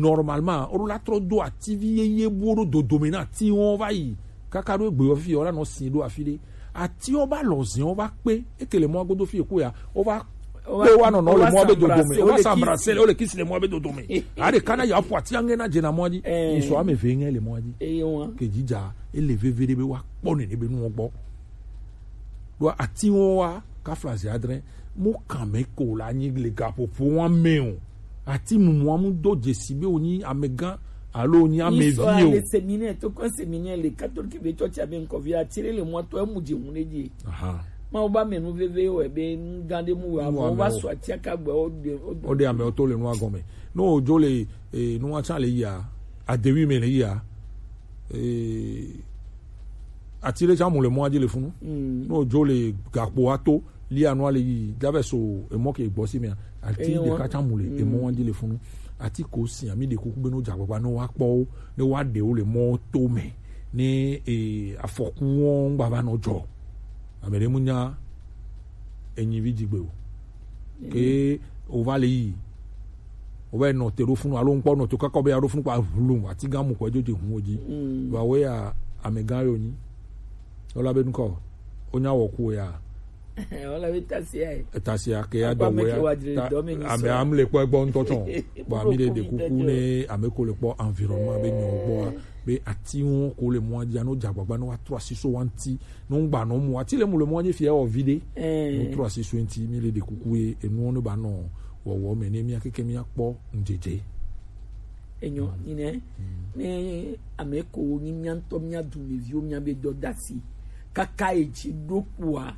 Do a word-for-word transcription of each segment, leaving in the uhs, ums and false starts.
Normalement, o ɖo la trɔ do ativi yeye bu o ɖo dodome na ati wɔn va yi. Kaka ɖo egbe yɔ fi yɔ la nɔ sin ɖo afi ɖe. Ati wo ba lɔ zɛn wo va kpe. Eke le mɔ godo fi eku ya. O va kpe wa nɔnɔ le mɔ be dodome. O va s'embrasser, o le kiss le mɔ be dodome. A ɖe kana ya ƒo ati ange na dze na mɔ dzi. Yi sɔ ame ve nge le mɔ dzi. Ke dzidza, ele veve ɖe be wa kpɔ nene be nu gbɔ. Ɖo ati wɔn wa kafla zi adre. Mo kan me ko la nyi le gaƒoƒo wɔn me o. Ati mumu amu do dzesi be wonyi amegã alo wonyi amevi o. Le séminaire, to kɔ séminaire le catholique be church abe nkɔvi atire le mɔ to emu dze ŋu ɖe dzi. Aha. Ma wo ba me nu veve wɔ be nu gã ɖe mu wɔ abo va sɔ atia ka gbe o de o de ame o to le nu agɔme. No ojo le eh, nu wa tsa le ya adewi me le ya eh, ati ɖe tsa mu le mɔa dzi le funu. Mm. No ojo le gakpo ato lia nua le yi dave so emɔ ke gbɔ si mea. Ati ɖeka tsa mu le emɔ wa dzi le funu. Ati ko si ami ɖe kuku be no dza gbagba no wa kpɔ wo ne wa ɖe wo le mɔ to me ne e afɔku wɔn gba va nɔ dzɔ. Ame ɖe mu nya enyi vi dzigbe o. Ke o va le yi o va nɔ te ɖo funu alo ŋkpɔ nɔ te kaka be ya ɖo funu kpa ʋlu ati gã mu kɔ edzo dze hu wo dzi. Vɔ awoe ya amegã yo nyi. Wola be ŋkɔ wonya wɔ ku ya. Wola be tasia yi. Tasia ke ya dɔ wɔ ya. Ame am le kpɔ egbɔ ŋutɔ tsɔ. Bɔn ami ɖe ɖe kuku ne ame ko le kpɔ environnement be nyɔ gbɔa be ati ŋu ko le mɔa dzi ano dza gbagba ne wa trɔ asi so wa ŋti. No ŋgba no mu ati le mu le mɔa dzi fia wɔ vi ɖe. No trɔ asi so ŋti mi le ɖe kuku ye enuwo ne ba nɔ wɔwɔ me ne mia keke mia kpɔ ŋdzedze. Enyo nyine ne ame ko wo nyi mia ŋutɔ mia dumeviwo mia be dɔ dasi kaka edzi ɖo kpua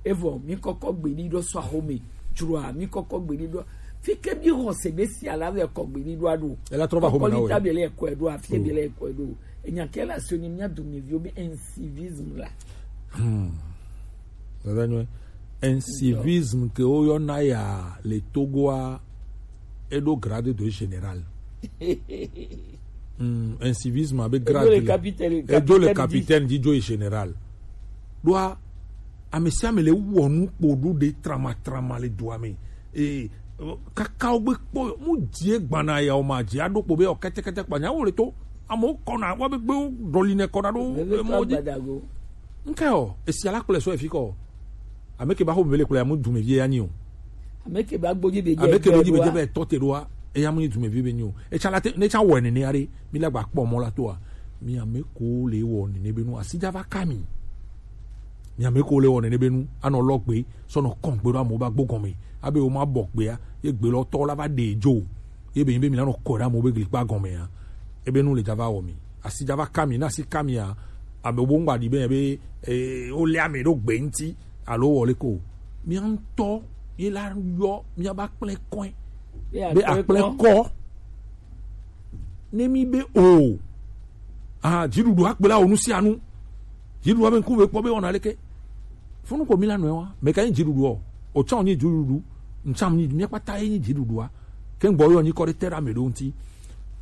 evɔ mi kɔkɔ gbeɖi ɖo sɔ axome dzroa mi kɔkɔ gbeɖi ɖo fi ke mi xɔ se be si ala vɛ kɔ gbeɖi ɖo aɖo ela trɔ va xome na wo kɔli ta be le kɔe ɖo afi be le kɔe ɖo enya ke la so ni mia dumeviwo be incivisme la. Hmm. Dada nyɔe. Incivisme ke woyɔna ya le Togoa eɖo grade de général. Mm, incivisme abe grade edzo le capitaine dzi dzo yi général. Ɖoa ame sia ame le wɔ nu kpo ɖo ɖe trama trama le dua me. Ee, kaka wo gbe kpɔ mu die gbana ya o ma dzi aɖo kpo be o kɛtɛkɛtɛ kpanya wo le to amewo kɔna wa be gbewo ɖɔli ne kɔna ɖo emɔ dzi. Nke o esi ala kple sɔ efi kɔ. Ame ke ba xɔ mele kple amu dume vie ya nyi o. Ame ke ba gbodzi be ame ke gbodzi be dze be tɔ te ɖoa eya mu nyi dume vie be nyi o. Etsa la te ne tsa wɔ nene are mi la gba kpɔ mɔ la toa mi ame ko le wɔ nene be nu asi dza va ka mi. Mi ame ko le wɔ nene be nu anɔ lɔ gbe sɔnɔ kɔn gbe ɖo amewo ba gbɔ gɔme abe wo ma bɔ gbea ye gbe lɔ tɔ la va ɖe dzo ye be nyi be mi la nɔ kɔ ɖe amewo be glikpa gɔmea ebe nu le dza va wɔ mi asi dza va ka mi na asi ka mia abe wo ŋgba ɖi be be eh, wo le ame ɖo gbe ŋti alo wɔ le ko mia ŋutɔ ye la yɔ mia ba kple kɔe be akple kɔ ne mi be o ah dziɖuɖu akpla wo nu sia nu dziɖuɖu abe ŋku be kpɔ be wɔna leke funu ko mi la nɔe wa meka nyi dziɖuɖu o o tsã nyi dziɖuɖu ŋtsam nyi mia kpata ye nyi dziɖuɖua ke ŋgbɔ yɔ nyi kɔ ɖe te ɖe ame ɖewo ŋti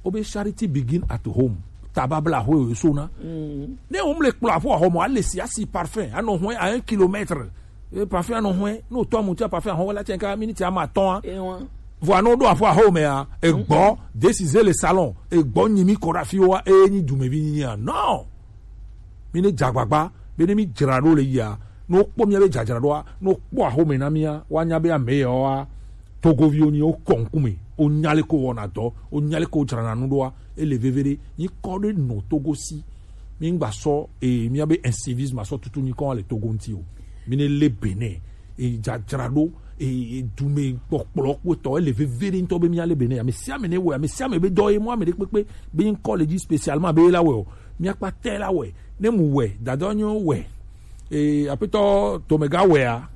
wobe charity begin at home tababla ho e so na ne wo mle kplɔ aƒo ahɔmɔ ale si asi parfum anɔ hɔe à un kilomètre e parfum anɔ hɔe ne wotɔ amu tia parfum ahɔmɔ la tiɛn ka miniti ama atɔn a vɔ anɔ ɖo aƒo ahɔmɔ mea egbɔ décider le salon egbɔ nyi mi kɔ ɖe afi wa e nyi dumevi nyi a non mi ne dze agbagba be ne mi dzra ɖo le yia ne wokpɔ mia be dzadzraɖoa ne wokpɔ ahome na mia woanya be ame yawoa togoviwo nyi wokɔ ŋkume wonya le ko wɔna dɔ wonya le ko dzrana nu ɖoa ele veve ɖe nyikɔ ɖe nɔ togo si mi ŋgba sɔ e mia be incivisme asɔ tutu nyikɔ le togo ŋti o mi ne le bene e dzadzraɖo e e dume kpɔkplɔ kpɔtɔ ele veve ɖe ŋutɔ be mia le bene ame sia ame ne wɔ ame sia ame be dɔ ye mɔ ame ɖe kpekpe be ŋkɔ le dzi spécialement be la wɔ mia kpata la wɔ ne mu wɛ dada nyo wɛ ee apetɔ tomega wɛa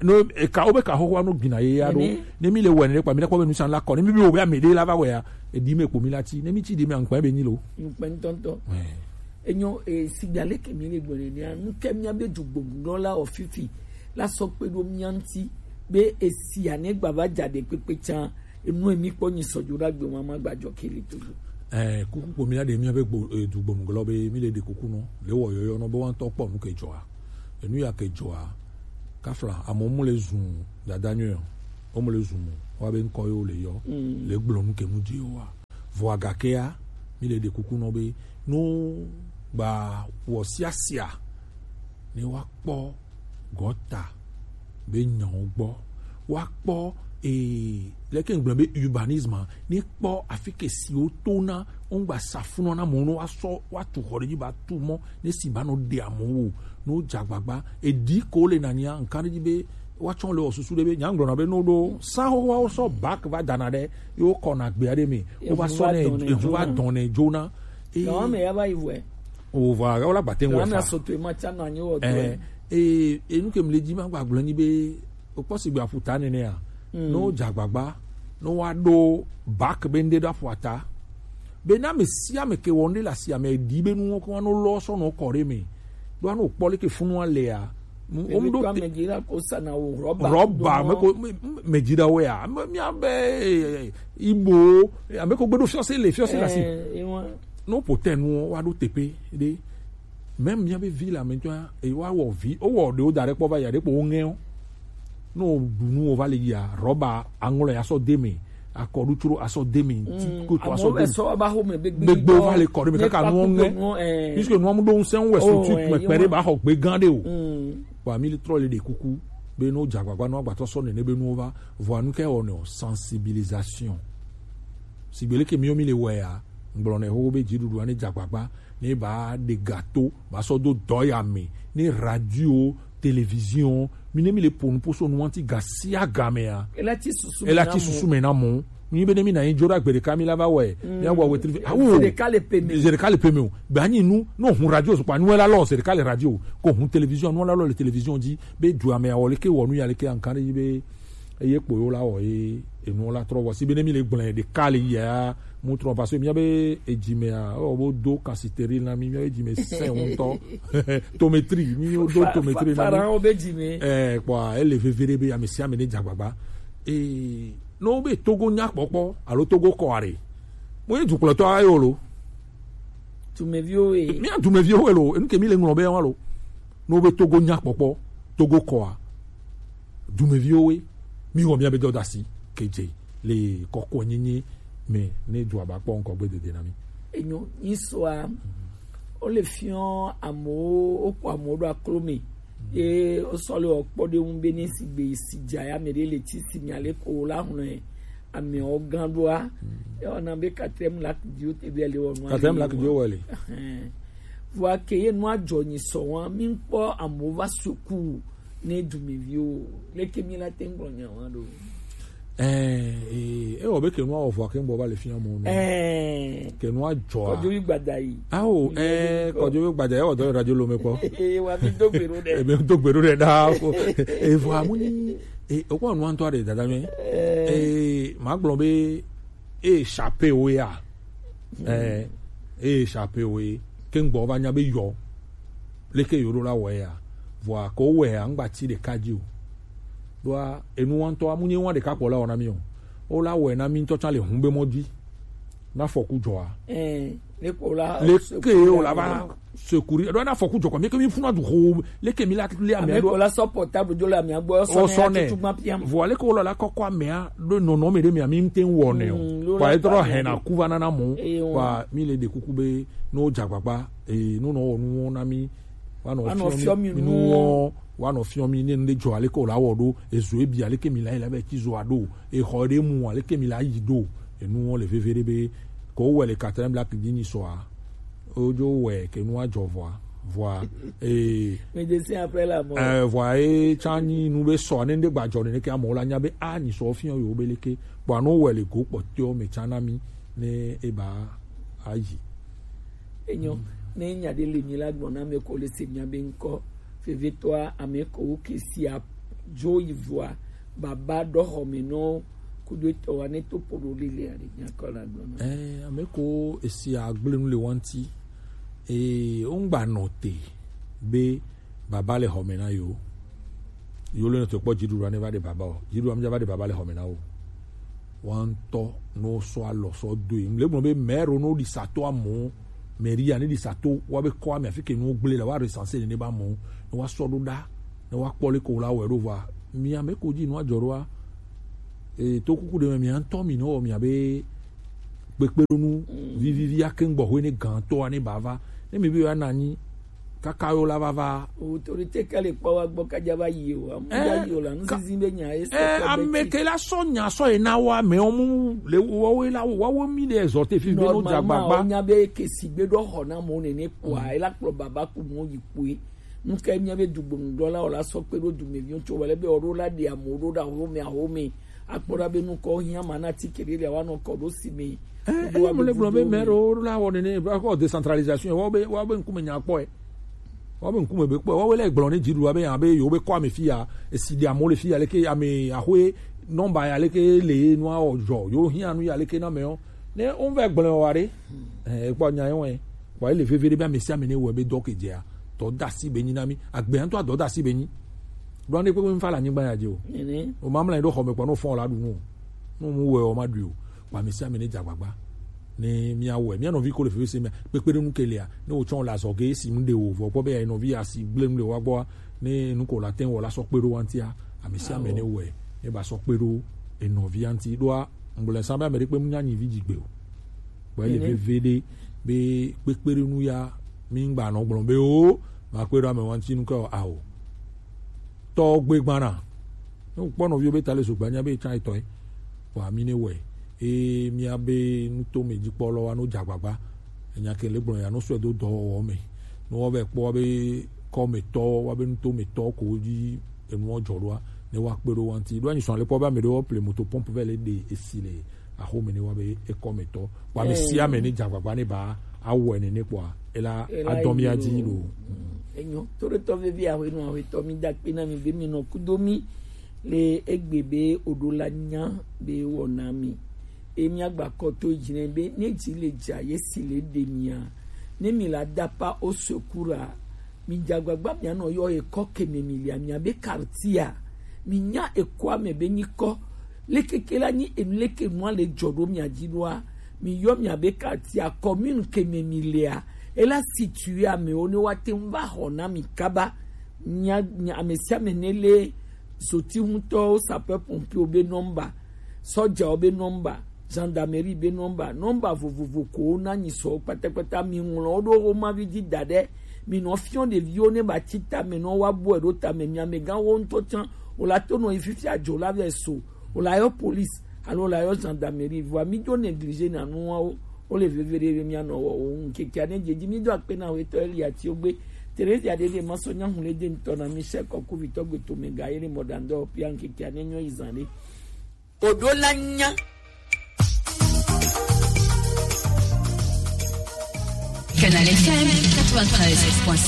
no eka wobe ka xoxoa no gbina ye ya ɖo ne mi le wɛ ne kpa mi ɖe kpɔ be nusan la kɔ ne mi bi wo be ame ɖe la va wɛa edi me kpo mi la ti ne mi ti di me ankpa be nyi lo nkpɛ ŋutɔŋutɔ enyo e sigba leke mi le gbɔne ne nu ke mia be dugbɔnulɔ la ofifi la sɔ kpe ɖo mia ŋti be esia ne gba va dza ɖe kpekpe tsa enu emi kpɔ nyi sɔdzo ɖa gbe ma ma gba dzɔ kele to do. Ɛɛ kuku ko mi la ɖe mi be gbo edu gbɔnu glɔ be mi le ɖe kuku nɔ le wɔ yɔyɔ nɔ be wa ŋtɔ kpɔ nu ke dzɔa enu ya ke dzɔa kafla amewo mu le zun dada nyuie o mu le zun mo wa be ŋkɔ yewo le yɔ le gblɔ nu ke mu dzi yewo wa. Vɔ agakea, mi le ɖe kuku nɔ be, no gba wɔ siasia ne wa kpɔ gɔta be nyawo gbɔ, wa kpɔ ee leke ŋgblɔ be urbanisme, ne kpɔ afike siwo to na wo ŋgba safunɔ na mɔ no wa sɔ wa tu xɔ ɖe dzi ba tu mɔ ne si ba nɔ ɖe amewo o, no dza gbagba edi ko le nania nkan ɖe dzi be wa tsɔ le wɔ susu ɖe be nya ŋgblɔ na be no ɖo sa xoxoawo sɔ bak va dana ɖe ye wo kɔ na gbea ɖe me wo va sɔ ne ehu va dɔn ne dzona. Gawa me ya va yi vɔe. O va wala gbate ŋu Gawa me fa. Asoto ma tsa na nyi wɔ dɔe. Eh, eh, enu ke mle dzi ma gba gblɔ nyi be o kpɔ si gbe aƒuta nene ya. No dza gbagba no wa ɖo bak be ŋɖe ɖo aƒuata. Be na me sia me ke wɔ ŋɖe le asi ame di be nuwo ko no lɔ sɔ no kɔ ɖe me. Do ano kpɔ le ke funu alea. Mu- Emi Omɖo kɔ te- ame dzi la ko sana wo rɔba. Rɔba, ame ko me- me- me dzi ɖe wo ya. Ame mia be eh, ibo ame ko gbeɖo fiɔse le fiɔse le asi. Eh, ewa. No ƒo te nuwo wa ɖo teƒe ɖe. Même mia be vi le ame ŋutɔa e wa wɔ vi o wɔ ɖewo da ɖe kpɔ va ya ɖe kpɔ wo ŋɛ o. No ɖu nuwo va le yia rɔba aŋlɔ ya sɔ de me akɔɖu tsro asɔ de me ti ko to asɔ de me. Gbegbe va le kɔ ɖe me kaka nuwo ŋɛ. Puisque nuwo mu ɖo ŋusẽ wɛ so tu kpɛkpɛ ɖe ba xɔ gbe gã ɖe o. Wa mi le trɔ le ɖe kuku be no dza gbagba no agbatɔ sɔ nene be nuwo va vɔa nu ke wɔ ne o sensibilisation. Sigbe leke miwo mi le wɔe ya ŋgblɔ ne xoxo be dziɖuɖua ne dza gbagba ne ba ɖe gato ba sɔ do dɔ ya me ne radio télévision mi ne mi le ƒo nu ƒo so nu ŋuti ga sia ga mea. Ela ti susu me na mɔ mi be ne mi na yin dzora gbe ɖeka mi la va wɔe mi awɔ wetri awo zi ɖeka le pe me o gbe anyi nu no hun radio sukpa nu la lɔ zi ɖeka le radio ko hun télévision nu la lɔ le télévision dzi be du ame awɔ leke wɔ nu ya leke ankan ɖe yi be eye kpo yo la wɔ ye enu la trɔ vɔ si be ne mi le gblẽ ɖeka le yia mu trɔ parce que mia be edzi mea ewɔ bo do kasiteri na mi mia be edzi me sɛ ŋutɔ tometri mi yo do tometri na mi. Farawo be dzi me. Eh kpɔ ele veve ɖe be ame sia ame ne dza gbagba ee ne wo be togo nya kpɔkpɔ alo togo kɔ are mo ye dukplɔtɔ ayo lo. Dumeviwo ye. Mia dumeviwo ye lo enu ke mi le ŋlɔ be wa lo ne wo be togo nya kpɔkpɔ togo kɔa dumeviwo ye mi wɔ mia be dɔdasi kedze le kɔkɔ nyenye me ne dua ba kpɔ ŋkɔ gbe dede na mi. Enyo nyisɔa wole fiɔ amewo wokpɔ amewo ɖo aklo me ye wosɔ le wɔkpɔ ɖe ŋu be ne sigbe si dza ya me ɖe le ti si mia le ko la hlɔe amewo gã ɖoa ewɔna be katrɛm lak diwo te be le wɔnu katrɛm lak diwo wɔ le. Vɔa ke ye nua dzɔ nyi sɔ wa mi kpɔ amewo va suku ne dumeviwo leke mi la te ŋgblɔ nya wa ɖo. Ɛɛ ewɔ be kenu awɔ vɔ akeŋ bɔ va le fia mɔ nɛ. Ɛɛ kenu adzɔa kɔdzo yi gbada yi. Awo ɛɛ kɔdzo yi gbada yi ewɔ dɔ radio lome kpɔ. Ee wa mi do gbero dɛ. Ebe do gbero dɛ daa ko evɔ amu ni ee okpɔ nu antɔ de dada mi. Ee ma gblɔ be ee chapeau ya. Ɛɛ ee chapeau ye keŋ gbɔ va nya be yɔ leke yo ɖo la wɔe ya vɔa ko wɔe ya ŋgba ti ɖeka dzi o ɖoa enu wa ŋutɔ amu nye wa ɖeka kpɔ la wɔ na mi o wo la wɔe na mi ŋutɔ tsa le hun be mɔ dzi na fɔku dzɔa leke wo la va sekuri ɖo na fɔku dzɔ kɔ mi ke mi funa du ho leke mi la le ame ɖo la sɔ portable dzo le ame gbɔ sɔ ne vɔ leke wo la la kɔkɔ amea ɖo nɔnɔ mi ɖe mi ami ŋte wɔ ne o kɔ e trɔ hɛn na ku va nana mɔ kɔ mi le ɖe kuku be no dzagbagba ee no nɔ wɔ nuwo na mi wa nɔ fiɔ mi nuwo wa nɔ fiɔ mi ne nu ɖe dzɔ aleke wòle awɔ ɖo ezo ebi aleke mi la yi la be ti zo aɖo exɔ ɖe mu aleke mi la yi ɖo enuwo le veve ɖe be ko wɔ le katrɛn black dzi nyi sɔa wodzo wɔ ke nua dzɔ vɔa vɔa ee. Medecin après la mort. Ɛɛ vɔa ye tsa nyi nu be sɔ ne ɖe gba dzɔ ne ke amewo la nya be a nyi sɔ fiɔ yewo be leke kpɔ anu wɔ le go kpɔtɔ me tsa na mi ne eba ayi. Enyo ne nya ɖe le mi la gblɔ na ame ko le se mia be ŋkɔ vevetɔa ame ko wo ke sia dzo yi vɔa baba ɖɔ xɔme nɔ kudo etɔ wa ne to poɖo lili aɖe nya kɔ la gblɔ na. Ɛɛ ame ko esi agble nu le wa ŋti ee wo ŋgba nɔ te be baba le xɔme na yo yo le nɔ te kpɔ dziɖuɖua ne va ɖe baba o dziɖuɖua mi dza va ɖe baba le xɔme na o. Wa ŋutɔ no sɔ alɔ sɔ do yi ŋle gblɔ be mɛro no ɖi sato amewo mɛria ne ɖi sato wa be kɔ ame afi ke nuwo gblẽ le wa recense ne ne ba amewo ne wa sɔ ɖo ɖa ne wa kpɔ le ko la wɔ ɖo va mi ame ko dzi nua dzɔ ɖoa ee to kuku ɖe me mia ŋutɔ mi ne wɔ mia be kpekpeɖonu vivivi ake ŋgbɔ hwe ne gãtɔa ne bava. Ne mi be ya nanyi kaka yo la vava. Autorité ka le kpɔ wa gbɔ kadza va yi o, amu da yi o la, nuzizi be nya ye se. Eh, ame ke la sɔ nya sɔ ye na wa me o mu le wo we la wa wo mi de exhorté fi be no dza gbagba. Nya be ke si gbe do xɔ na mo ne ne kpɔ a, e la kplɔ baba ku mo yi kpɔ e. Nu ka mía be dugbonudɔlawo la sɔ kpe ɖo dumeviwo tso wele be woɖo la ɖe amewo ɖo ɖe ahome ahome akpɔ ɖa be nukɔ hiã ma na ti keɖe le awa nɔ kɔ ɖo si me. Eye mo le gblɔ be mɛ ɖewo la wɔ nene akɔ décentralisation wɔ be wɔ be ŋkume nya kpɔe. Wɔ be ŋkume be kpɔe wɔ be le gblɔ ne dziɖuɖua be yan be yewo be kɔ ame fi ya esi ɖe amewo le fi ya leke ame ahoe nɔmba ya leke le nua wɔ dzɔ yewo hiã nu ya leke na mɛ o ne wo vɛ gblɔ wa ɖe. Ekpɔ nya yɔ wɛ. Vɔ ele veve ɖe be ame sia ame ne wɔe be dɔ ke dzea, dɔ da asi be nyi na mi. Agbe ŋutɔ adɔ da asi be nyi. Ɖo ane kpekpe mi fa le anyigba ya dzi o. O ma mla ɖo xɔme kpɔ no fɔn la ɖu nu. No mu wɔe o ma ɖui o. Vɔ ame sia ame ne dza gbagba. Ne mia wɔe, mia nɔvi ko le veve se me kpekpe ɖe nu ke lia. Ne wo tsɔ la zɔ ge si mu de o vɔ kpɔ be ya nɔvi asi gble nu le wa gbɔ. Ne nu ko la te wɔ la sɔ kpe ɖo wa ŋutia. Ame sia ame ne wɔe, ne ba sɔ kpe ɖo enɔvia ŋuti ɖoa. Ŋgblɔ sa be ame ɖe kpe mu nya nyi vi dzi gbe o. Kpɔ ele veve ɖe be kpekpeɖonu ya mi ŋgba nɔ gblɔ be o ma kpe ɖo ame wa ŋuti nu ke o ao. Tɔ gbe gbana. Ne kpɔ nɔviwo be ta le zogba nya be tsa etɔe. Vɔ ami ne wɔe. Eye mia be nutome dzikpɔlɔ wa no dza agbagba. Enya ke le gblɔ ya no sɔe do dɔwɔwɔ me. Ne wa be kpɔ wa be kɔmetɔ wa be nutome tɔ ko dzi enuwo dzɔ ɖoa ne wa kpe ɖo wa ŋuti ɖo anyi sɔn le kpɔ be ame ɖewo ple moto pompe vɛ le ɖe esi le axome ne wa be ekɔ me tɔ kpɔ ame sia ame ne dza agbagba ne ba awɔe nene kpɔa ela adɔ mia dzi lo. Enyo toɖotɔ vevi ahwenɔ ahwetɔ mi da kpe na mi be mi nɔ kudo mi le egbe be oɖo la nya be wɔ na mi. Emi agba kɔ to dzi nɛ be ne dzi le dza ye si le ɖe mia ne mi la dapa o sekura. Mi dza agbagba mia nɔ yɔ ekɔ keme mi lia mia be kartia. Mi nya ekɔa me be nyikɔ. Lekeke la nyi enu leke nua le dzɔ ɖo mia dzi ɖoa. Mi yɔ mia be kartia commune keme mi lia. Ela situe amewo ne wa te ŋu va xɔ na mi kaba. Nya ame sia ame ne le zoti ŋutɔwo sapeur pompier be nɔmba, sɔdzawo be nɔmba, gendarmerie be nɔmba, nɔmba vovovo ko wona nyi sɔ kpatakpata mi ŋlɔ wo ɖo wo mavi dzi da ɖe mi nɔ fiɔ ɖeviwo ne ba tsi tame nɔ wa bɔe ɖo tame mi amegãwo ŋutɔ tsã wòla to nɔ yi fifia dzo la vɛ so wòla yɔ police alo wòla yɔ gendarmerie vɔa mi dzo négligé na nuawo. Wole veve ɖe be míanɔ wɔwɔ ŋu ŋkekea ne dze dzi mído akpe na wetɔ Eli Atiogbe, Teresia Dede Masɔ, Nyahulede ŋutɔ na Michel Kɔkuvitɔ Gbetomega ye le mɔɖaŋdɔ pia ŋkekea ne nyɔ yi zã ɖe. Oɖo la nya. Canal F M quatre-vingt-treize point cinq.